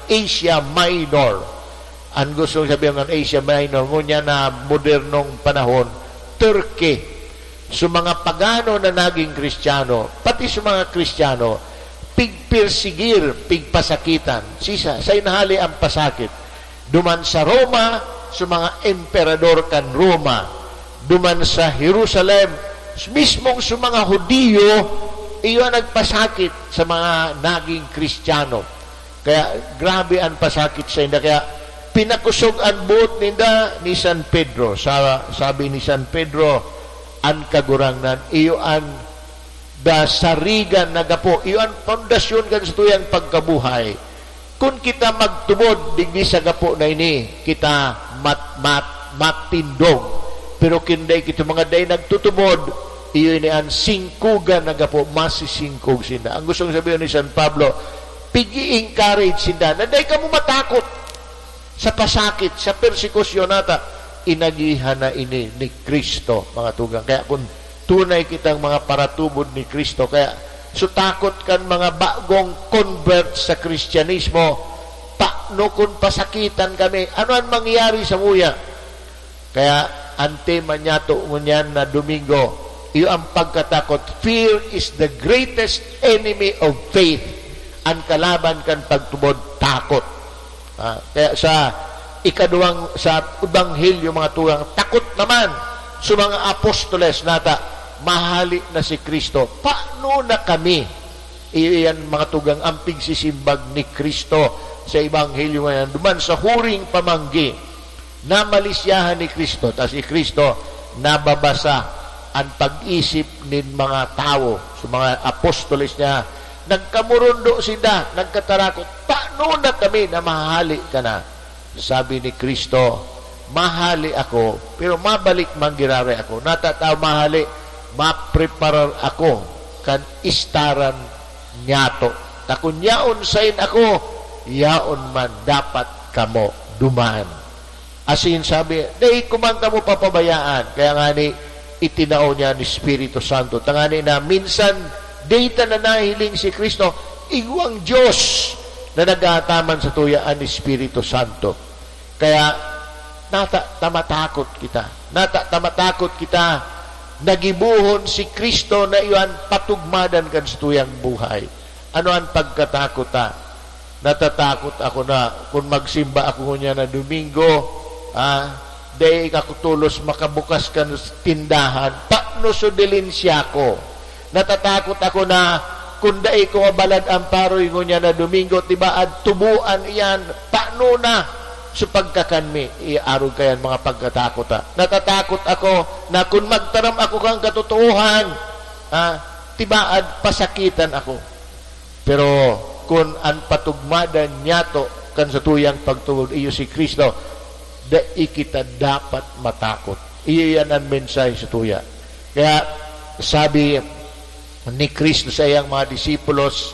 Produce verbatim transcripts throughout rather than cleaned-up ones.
Asia Minor. Ang gustong sabihin ng Asia Minor, ngunyan na modernong panahon, Turkey. So, mga pagano na naging Kristiyano, pati sa mga Kristiyano, pigpersigir, pigpasakitan. Sisa, sa inahali ang pasakit. Duman sa Roma, sa mga emperador kan Roma. Duman sa Jerusalem, mismong sa mga Hudiyo, iyo ang nagpasakit sa mga naging Kristiyano. Kaya grabe an pasakit sainda. Kaya pinakusog an boot ninda ni San Pedro. Sa, sabi ni San Pedro, "An Kagurangnan, iyo an da sarigan na gapo, iyo an pundasyon kan satuyang pagkabuhay. Kun kita magtubod digdi sa gapo na ini, kita mat-, mat-, matindog. Pero kun dai kita mga dai nagtutubod, iyo ini an singkugan na gapo, masisingkog sinda." Ang gustong sabihin ni San Pablo, pig-i-encourage sinda na dai kamo matakot sa pasakit, sa persekusyon nata. Inagihan na ini ni Cristo, mga tugang. Kaya kun tunay kitang mga paratubod ni Cristo, kaya sutakot kan mga bagong convert sa Kristyanismo, "Paano kun pasakitan kami? Ano an mangyayari sa muya?" Kaya an tema niyato ngunyan na Domingo, iyo ang pagkatakot. Fear is the greatest enemy of faith. An kalaban kan pagtubod, takot. Ah, kaya sa ikaduwang, sa Ebanghelyo, mga tugang, takot naman sa mga apostoles nata, mahali na si Cristo. Paano na kami? Iyan, mga tugang, ang pigsisimbag ni Cristo sa Ebanghelyo ngayon. Duman sa huring pamanggi, namalisyahan ni Cristo, ta si Cristo nababasa an pag-isip nin mga tawo, sa mga apostoles niya. Nagkamurundo sinda, nagkatarakot, "Paano na kami na mahahali ka na?" Sabi ni Cristo, "Mahali ako, pero mabalik man giraray ako. Natataw mahali, mapreparar ako kan istaran niyato. Ta kun yaon sain ako, yaon man dapat kamo duman." Asin sabi, "Dai ko man kamo papabayaan." Kaya ngani, itinao niya an Espiritu Santo. Tangani na minsan, dai ta na nahiling si Cristo, igwang Dios na nag-aataman sa tuya an Espiritu Santo. Kaya, nata ta matakot kita. Nata ta matakot kita. Nagibohon si Cristo na iyan patugmadan kan satuyang buhay. Ano an pagkatakot ta? Natatakot ako na kun magsimba ako ngunyan na Domingo, ah, dai ako tolos makabukas kan tindahan. Paano so dilin siya ko? Natatakot ako na kun dai ko mabalad an paroy ngunyan na Domingo, tibaad tuboan iyan. Paano na so pagkakan mi? Iarog kayan mga pagkatakot, ha. Natatakot ako na kun magtaram ako kan katotoohan, ha, tibaad pasakitan ako. Pero kun an patugmadan niyato kan satuyang pagtubod iyo si Cristo, dai kita dapat matakot. Iyo iyan an mensahe sa tuya. Kaya sabi ni Cristo sa iyang mga disipulos,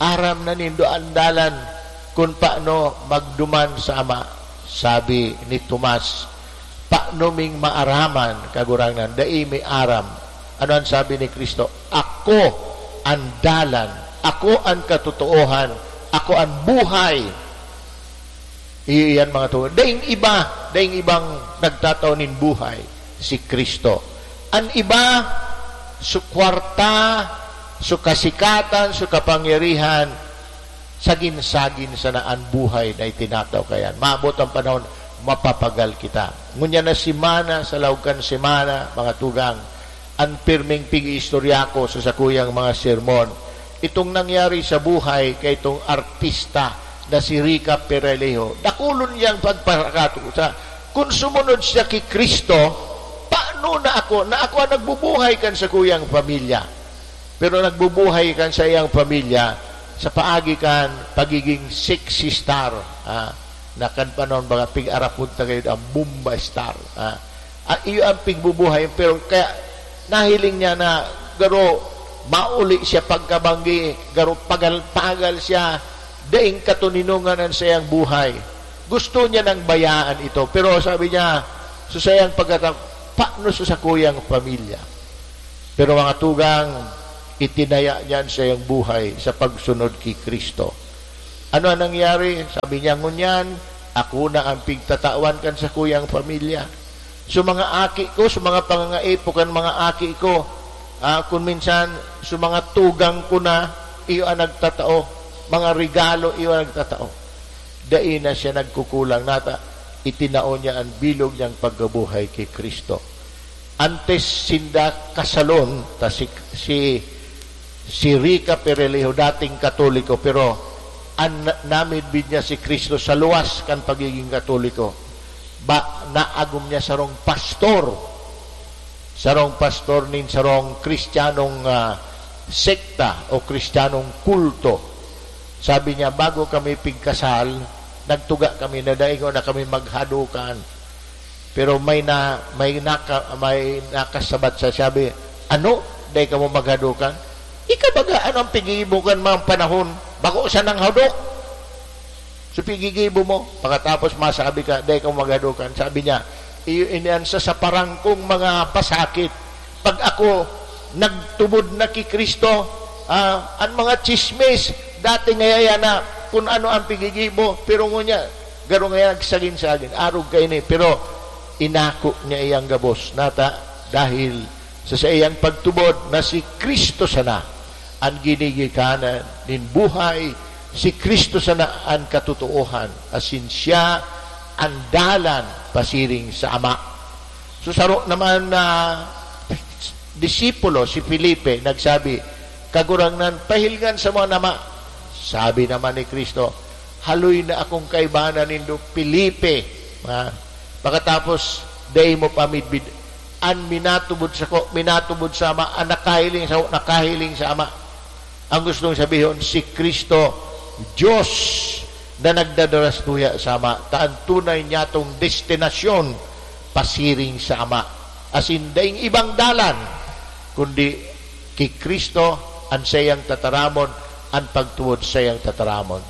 "Aram na nindo an dalan kun paano magduman sa Ama." Sabi ni Tomas, "Paano ming maaraman, Kagurangnan? Dai mi aram." Ano an sabi ni Cristo? "Ako an dalan, ako an katotoohan, ako an buhay." Iyo iyan, mga tugang. Daing iba, daing ibang nagtatao nin buhay, si Cristo. An iba, su kwarta, su kasikatan, su kapangyarihan, sagin-sagin sana an buhay na itinataw kaiyan. Maabot an panahon, mapapagal kita. Ngunyan na semana, sa laog kan semana, mga tugang, an pirming pig-iistorya ko sa sakuyang mga sermon, itong nangyari sa buhay kaitong artista na si Rica Peralejo. Dakulon niyang pagpakatusa. Kun sumunod siya ki Cristo, paano na ako, na ako an nagbubuhay kan sakuyang pamilya? Pero nagbubuhay kan saiyang pamilya sa paagi kan pagiging sexy star, ah, na kan panahon baga pig-arapod ta gayod an bomba star, ah. Ah, iyo an pigbubuhay, pero kaya nahiling niya na garo mauli siya pagkabanggi, garo pagal-pagal siya, daing katoninongan an saiyang buhay. Gusto niya nang bayaan ito, pero sabi niya, sa saiyang pagkata-, "Paano sa sakuyang pamilya?" Pero, mga tugang, itinaya niya an saiyang buhay sa pagsunod ki Cristo. Ano an nangyari? Sabi niya, "Ngunyan, ako na an pigtatawan kan sakuyang pamilya. So, mga aki ko, so, mga pangangaipo kan mga aki ko, ah, kun minsan, so, mga tugang ko na, iyo an nagtatao. Mga regalo, iyo an nagtatao." Dai na siya nagkukulang. Nata, itinao niya an bilog niyang pagkabuhay ki Cristo. Antes sinda kasalon, ta si, si, si Rica Perelejo, dating Katoliko, pero an na-, namidbid niya si Cristo sa luwas kan pagiging Katoliko. Ba, naagom niya sarong pastor. Sarong pastor nin sarong Kristiyanong, ah, sekta o Kristiyanong kulto. Sabi niya, "Bago kami pigkasal, nagtuga kami na dai ngona kami maghadokan." Pero may na, may naka-, may nakasabat sa sabi, "Ano? Dai kamo maghadokan? Ika baga, ano an piggigibo kan mga panahon? Bako sanang hadok. So, piggigibo mo. Pakatapos masabi ka, dai kamo maghadokan." Sabi niya, "Iyo ini an sa, sa parangkong mga pasakit. Pag ako nagtubod na ki Cristo, ah, an mga tsismis, dati ngaya na kun ano an piggigibo, pero ngunyan, garo ngaya nagsagin-sagin, arog kaini." Pero inako niya iyang gabos, nata, dahil sa saiyang pagtubod na si Cristo sana an ginigikanan nin buhay, si Cristo sana an katotoohan, asin siya an dalan pasiring sa Ama. So, saro naman na disipulo, si Felipe, nagsabi, "Kagurangnan, pahilngan samo an Ama." Sabi naman ni Cristo, "Haloy na akong kaibahan na nindo, Felipe." Ha? Pakatapos, dai mo pa midbid, "An minatubod sako, minatubod sa Ama. An nakahiling sako, nakahiling sa Ama." Ang gustong sabihon, si Cristo, Diyos na nagdadara sa tuya sa Ama, ta an tunay niyatong destinasyon pasiring sa Ama. Asin daing ibang dalan, kundi ki Cristo an saiyang tataramon, an pagtubod saiyang tataramon.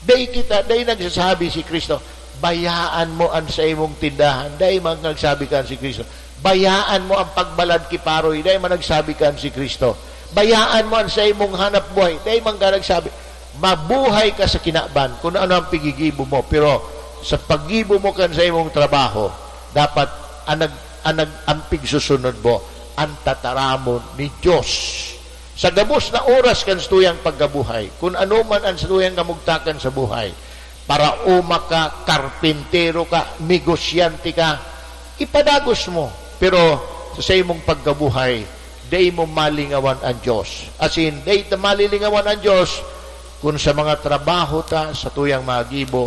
Dai kita, dai nagsasabi si Cristo, "Bayaan mo an saimong tindahan." Dai man nagsabi kan si Cristo, "Bayaan mo an pagbalad ki paroy." Dai man nagsabi kan si Cristo, "Bayaan mo an saimong hanap buhay." Dai man ka nagsabi, "Mabuhay ka sa kinaban, kun ano ang pigigibo mo, pero sa paggibo mo kan saimong trabaho, dapat an nag-, an nag-, an pigsusunod mo, an tataramon ni Dios." Sa gabos na oras kan satuyang pagkabuhay, kun ano man an satuyang kamugtakan sa buhay, paraoma ka, karpintero ka, negosyante ka, ipadagos mo. Pero sa saimong pagkabuhay, dai mo malingawan an Dios. As in, dai ta malilingawan an Dios kun sa mga trabaho ta, satuyang mga gibo,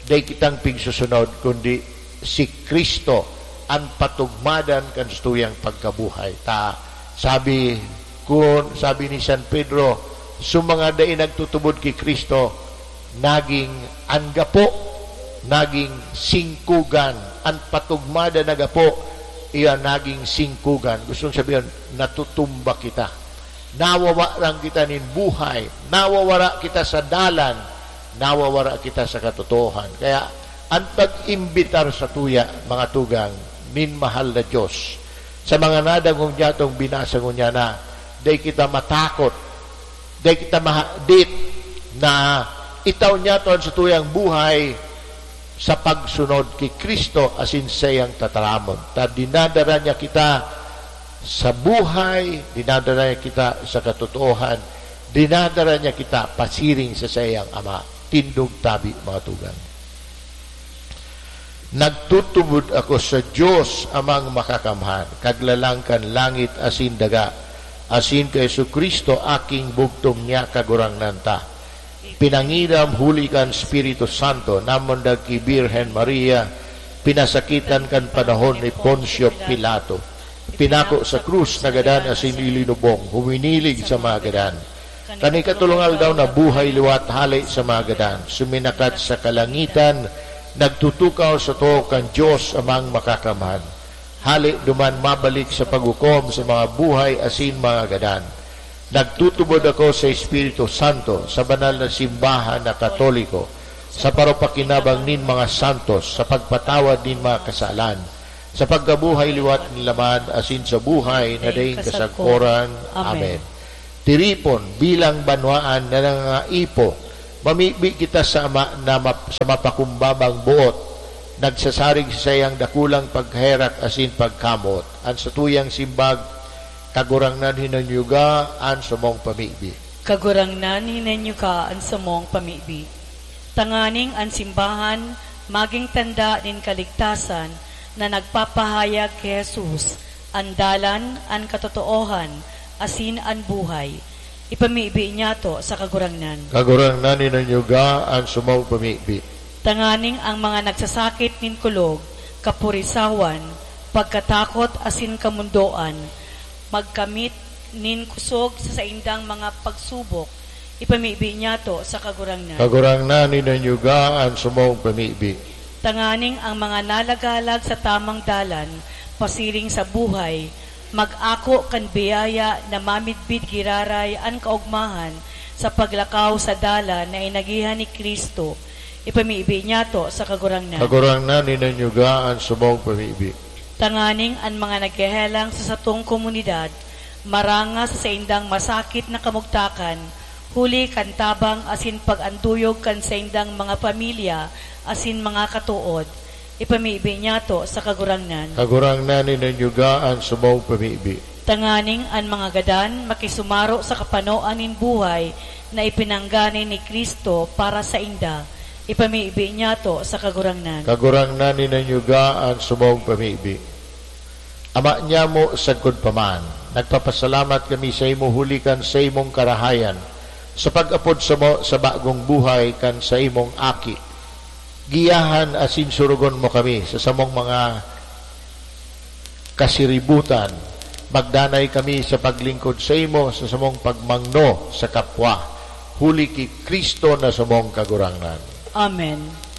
dai kitang pigsusunod, kundi si Cristo an patugmadan kan satuyang pagkabuhay. Ta, sabi kun, sabi ni San Pedro, "So mga dai nagtutubod ki Cristo, naging an gapo, naging singkugan, an patugmadan na gapo, iya naging singkugan." Gustong sabihon, natutumba kita. Nawawaran kita nin buhay, nawawara kita sa dalan, nawawara kita sa katotoohan. Kaya, an pag-imbitar satuya, mga tugang, nin mahal na Dios, sa mga nadangog niya tong binasa ngunyan na, dai kita matakot, dai kita mahadit na itao niya to an satuyang buhay sa pagsunod ki Cristo asin saiyang tataramon. Ta dinadara niya kita sa buhay, dinadara niya kita sa katotoohan, dinadara niya kita pasiring sa saiyang Ama. Tindog tabi, mga tugang. Nagtutubod ako sa Dios Amang Makakamhan, Kaglalang kan langit asin daga, asin ki Jesu-Cristo, aking bugtong niya Kagurangnan ta. Pinangiram huli kan Espiritu Santo, namundag ki Birhen Maria, pinasakitan kan panahon ni Poncio Pilato. Pinako sa krus, nagadan asin ilinubong, huminilig sa mga gadan. Kan ikatolong aldaw nabuhay liwat hale sa mga gadan, suminakat sa kalangitan, nagtutukaw sa too kan Dios Amang Makakamhan. Hale duman mabalik sa paghukom sa mga buhay asin mga gadan. Nagtutubod ako sa Espiritu Santo, sa banal na simbahan na Katoliko, sa parupakinabang nin mga santos, sa pagpatawad nin mga kasalan, sa pagkabuhay liwat nin laman, asin sa buhay na daing kasagkoran. Amen. Tiripon bilang banwaan na nangangaipo Mamibi kita sa Ama na map-, sa mapakumbabang boot, nagsasarig sa saiyang dakulang pagherak asin pagkamoot. An satuyang simbag, Kagurangnan, hinanyuga an samong pamibi. Kagurangnan, hinanyuga an samong pamibi. Tanganing an simbahan magin tanda nin kaligtasan na nagpapahayag ki Jesus, an dalan, an katotoohan, asin an buhay. Ipamibi niyato sa Kagurangnan. Kagurangnan, hinanyuga an samong pamibi. Tanganing ang mga nagsasakit nin kulog, kapurisawan, pagkatakot asin kamundoan, magkamit nin kusog sa saindang mga pagsubok, ipamibi niyato sa Kagurangnan. Kagurangnan, hinanyuga an samong pamibi. Tanganing ang mga nalagalag sa tamang dalan pasiring sa buhay, mag-ako kan biyaya na mamidbid giraray an kaogmahan sa paglakaw sa dalan na inagihan ni Cristo, ipamibi niyato sa Kagurangnan. Kagurangnan, hinanyuga an samong pamibi. Tanganing an mga naghehelang sa satong komunidad, maranga sa saindang masakit na kamugtakan, huli kan tabang asin pag-anduyog kan saindang mga pamilya asin mga katood, ipamibi niyato sa Kagurangnan. Kagurangnan, hinanyuga an samong pamibi. Tanganing an mga gadan makisumaro sa kapanoan nin buhay na ipinanggana ni Cristo para sainda, ipamibi niyato sa Kagurangnan. Kagurangnan, hinanyuga an samong pamibi. Ama nyamo, sagkod pa man, nagpapasalamat kami saimo huli kan saimong karahayan sa pag-apod samo sa bagong buhay kan saimong Aki. Giyahan asin surugon mo kami sa samong mga kasiributan. Magdanay kami sa paglingkod saimo sa samong pagmangno sa kapwa, huli ki Cristo na samong Kagurangnan. Amen.